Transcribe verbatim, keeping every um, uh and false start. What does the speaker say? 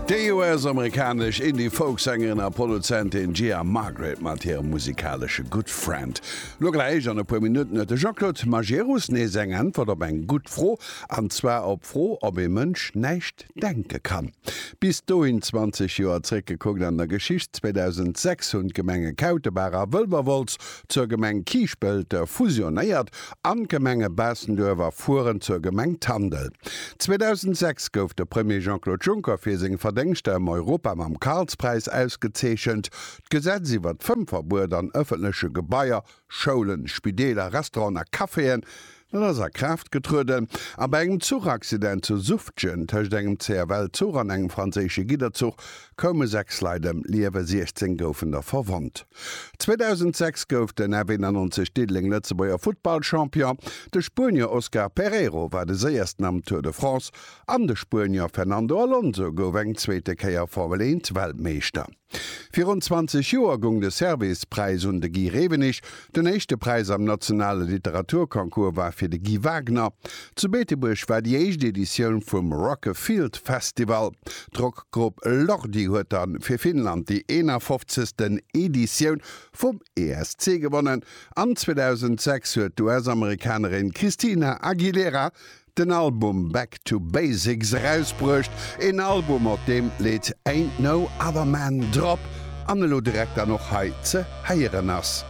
Déi U S-amerikanesch Indie-Folk-Sängerin a Produzentin Gia Margaret mat hirem musikalesche Good Friend. Lo gläich an e puer Minutten huet de Jean-Claude Majerus nees eng Äntwert op eng gutt Fro, an zwar op d'Fro, ob ee Mënsch näischt denke kann. Bis dohin zwanzeg Joer zréckgekuckt an der Geschicht, zweedausendsechs hunn d'Gemenge Kautebaach a Wëlwerwolz zur Gemeng Kiischpelt fusionéiert an d'Gemenge Baastenduerf a Furen zur Gemeng Tandel. zweedausendsechs gouf de Premier Jean-Claude Juncker fir seng Verdéngschter ëm Europa mam Karlspräis ausgezeechent. D'Gesetz iwwer d'Fëmmverbuet an ëffentleche Gebaier, Schoulen, Spideeler, Restauranten a Caféen, dat ass a Kraaft getrueden. A bei engem Zuchaccident zu Suftgen tëscht engem C F L-Zuch an engem franséische Gidderzuch koume sechs Leit ëm d'Liewen, siechzéng goufen der verwonnt. zweedausendsechs gouf den F eenannonzeg Diddeleng Lëtzebuerger Futtballchampion. De Spuenier Oscar Pereiro war de Séiersten am Tour de France an de Spuenier Fernando Alonso gouf eng zweete Kéier Formel eent Weltmeeschter. Virun zwanzeg Joer goung de Servais-Präis un de Guy Rewenig. Den éischte Präis am nationale Literaturconcours war fir de Guy Wagner. Zu Beetebuerg war déi éischt Editioun vum Rock-A-Field Festival. D'Rockgrupp Lordi huet dann fir Finnland déi eenafofzegsten. Editioun vum E S C gewonnen. An zweedausendsechs huet d'U S-Amerikanerin Christina Aguilera den Album Back to Basics erausbruecht, een Album, op deem d'Lidd Ain't No Other Man drop an elo direkt dann och hei ze héieren ass.